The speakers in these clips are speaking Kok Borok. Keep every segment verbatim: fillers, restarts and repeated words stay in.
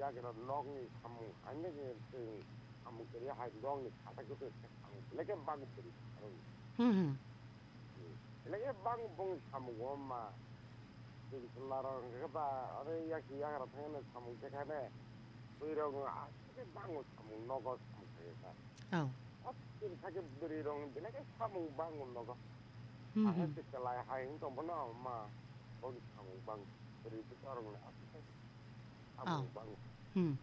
Agro nokni samung, haino je chwng samung kwrwi hai nokni khatai kwtwi khe samung belai khe bang bwrwi samung. Hmm, hmm. Belai khe bang bong samung o ma. Chwng chwla rok hwnkhe ba aro yak yagra thangna samung khe khane. Bwrwi rok aswk khe bango samung nogo samung khe kha. Oh. Aswk khe bwrwi rok belai khe samung bango nogo. Hmm, Aha hmm. Chwla hai wng tong bono ma bong samung bang bwrwi bwsa rok aswk khe. Abo bang. Hmm.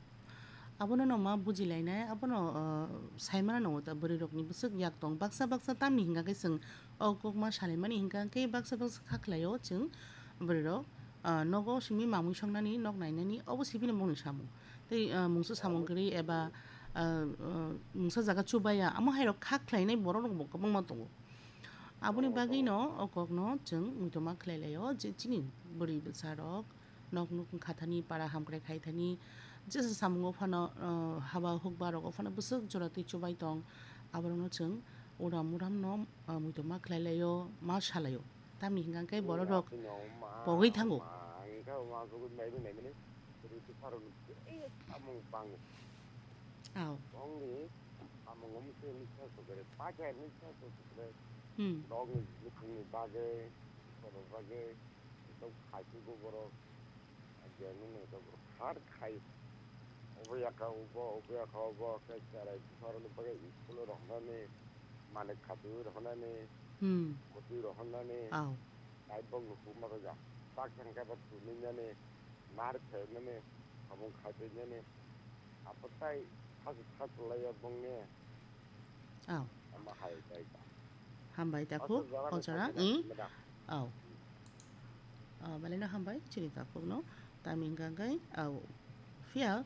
Abono no ma bujilainai, abono, uh, saimano no ta bwrwi rokni bwswk yak tong. Baksa baksa tamni hingka khe chwng o kokma salaimani hingka khe baksa baksa kha khlaio chwng bwrwi rok, uh, nogo simi mamwi songnani, nok nainani, obo sibini bongni samung. Tei, uh, mungsa samung kwrwi eba, uh, uh, mungsa jaga chubaya, amo hai rok kha khlainai borok rok bo kwbangma tongo. Aboni bagwi no o kokno chwng muitoma khlai laio je chini bwrwi bwsa rok, nok nuk wngkha thani, para hamkrai khai thani, jesa samungo phano, uh, haba hukba rogo phano bwswk jora twi chubai tong, aborokno chwng uram uram no, uh, muitu ma khlai laio, ma salaio. Tamni hingka khe borok rok pogwi thango. Ang khe ma sugwi naiwi naimani, rwtwi pharoni tei samung bango. Aw. Bongni samung wngkhe nukha sugwi, pakya nukha sugwi, Hmm. nokni bwkhwngni bagwi, borok bagwi. Tok khai tu go borok, agia nung nung tok borok har khai. Obo yaka obo, obo yaka obo, khe cherai buphar ni bagwi school o rohornani, malik khatwi rohornani, Hmm. kotwi rohornani, Aw. tai bong no huma rwja. Tak thang khe bo thunui nani, mar phainani, samung khai twi nani. Abo tai thasu thasu laiya bongni. Aw. Ama hai tai ta. Hambai takhuk, Oso jora o jora, hai i? Madam. Aw. Ah, belai no hambai, chini takhuk no. Tamni hingka khe, aw, phiya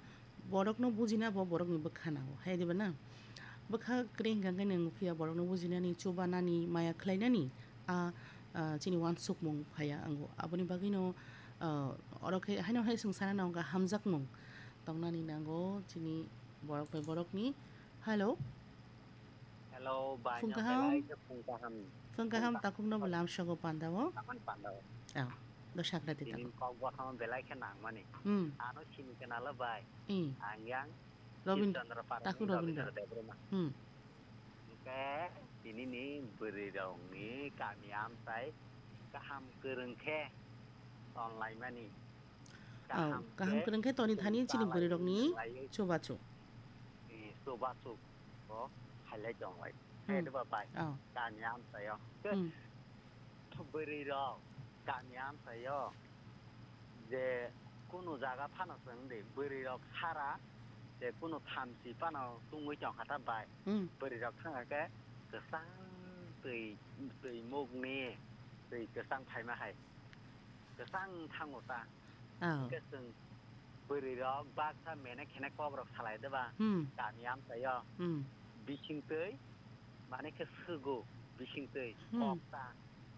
borok no bujina bo borok ni bwkha nango, hai diba na? Bwkha kwrwi hingka khe nwng phiya borok no bujinani, chubanani, maya khlainani, a, a, chini uansukmung phaiya ango. Aboni bagwi no, ah, oro khe haino hai swng sana nango, hamjakmung tongnani nango chini borok bai borok ni. Hello. Hello, bai, Phung no kaham. Belai khe phung kaham. Phung kaham, Phung kaham. Takhuk no bo lamsogo panda o. Taman panda o. Ah, do sakra di Tini takhuk. Kok bathang belai khe nangmani. Hmm. Ano sini kenala bai. Hmm. Ang yang Robin-, Chandra Parani takhuk Robindra. Robindra Debbarma. Hmm. Hingke tini ni bwrwi rok ni kami amchai kaham kwrwng khe tonlaimani. Oh, kaham kaham khe kwrwng khe toni thani chini bwrwi rok ni chubachu. Chubachu. Bo khailai tonglai. Hmm. Khe ba bai. Oh. Kami amchaio. Hmm. Bwrwi rok kami amchaio je kunu jaga phano chwng di bwrwi rok sara je kunu thamchi phano tungwi tongkha ta bai. Hmm. Bwrwi rok thangkha khe kwchang twi, twi mukni twi kwchang phaima hai. Kwchang thango ta. Oh. Hwnkhe chwng bwrwi rok baksa mene khene kok rok salai de ba. Hmm. Kami amchaio. Hmm. Bising twi mane khe sugo bising twi Hmm. kok ta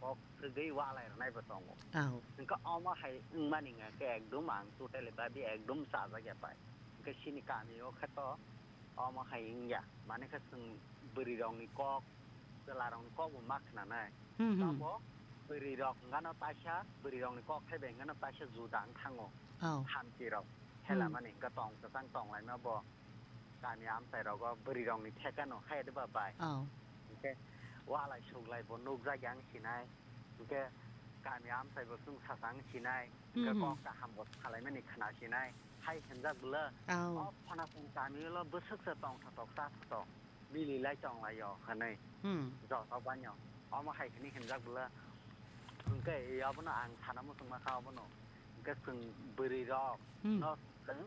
kok sugwi walai rwnai bo tongo. Oh. Hwnkhe omo hai wngmani hwnkhe ekdum ang totally babi ekdum chajak ya pai. Hwnkhe chini kami o khe to omo hai wngya. Mane khe chwng bwrwi rok ni kok, chwla rok ni kok bo ma khna nai. Hmm, hmm. Tamo bwrwi rok hwnkhe no taisa, bwrwi rok ni kok thai bai hwnkhe no taisa juda wng thango. Oh. Hamchi rok. Hmm. Hela mani hwnkhe tong kwchang tong laima bo. Kami amchai rogo bwrwi rok ni theka no hai de ba bai. Oh. Hwnkhe walai suglai bo nukjak yang sinai. Hwnkhe kami amchai bo chwng sasang sinai. Hwnkhe Hmm, hmm. Kok kaham bo salaimani khna sinai. Hai hwnjak bwla. Oh. O phana chwng kami ulo bwswk se tongthotok chathotok. Mililai tonglaio hwnwi. Hmm. Joto banyo. Omo hai hwnwi hwnjak bwla. Hwnkhe i abono ang sana muchungma kha abono. Hwnkhe chwng bwrwi rok Hmm. No chwng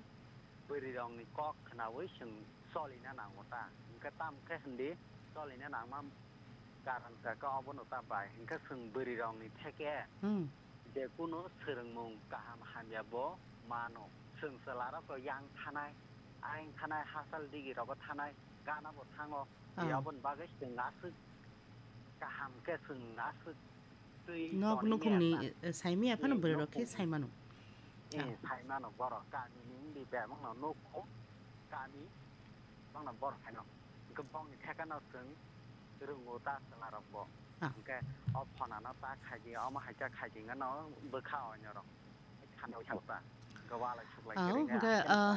bwrwi rokni kok khnaui chwng cholina nango ta. Hwnkhe tamo khe hwndi cholina nangma karon kha khe obono ta bai. Hwnkhe chwng bwrwi rokni theke Hmm. je kunu swrwngmung kaham hamya bo mano. Chwng chwla rok yang thanai, ayang thanai, hachal digi rogo thanai, gana bo thango. Ah. Aboni bagwi chwng aswk kaham khe chwng aswk twi Nok tonwi nukhungni, maya ta. Eh, saimaya phano Eh, bwrwi rok khe nukhung. Saimano. Eh, Ah. Saimano borok kami ni wngdi bebak no nukhung kami bangno borok haino. Hwnkhe bongni theka no chwng rwngo ta chwla rok bo. Ah. Hwnkhe o phona no ta khaidi, omo hai khe khaidi hwnkhe no bwkha onyo rok. Khana wi thang ta. Hwnkhe walai suklai Ah, kwrwi hwnkhe, ah,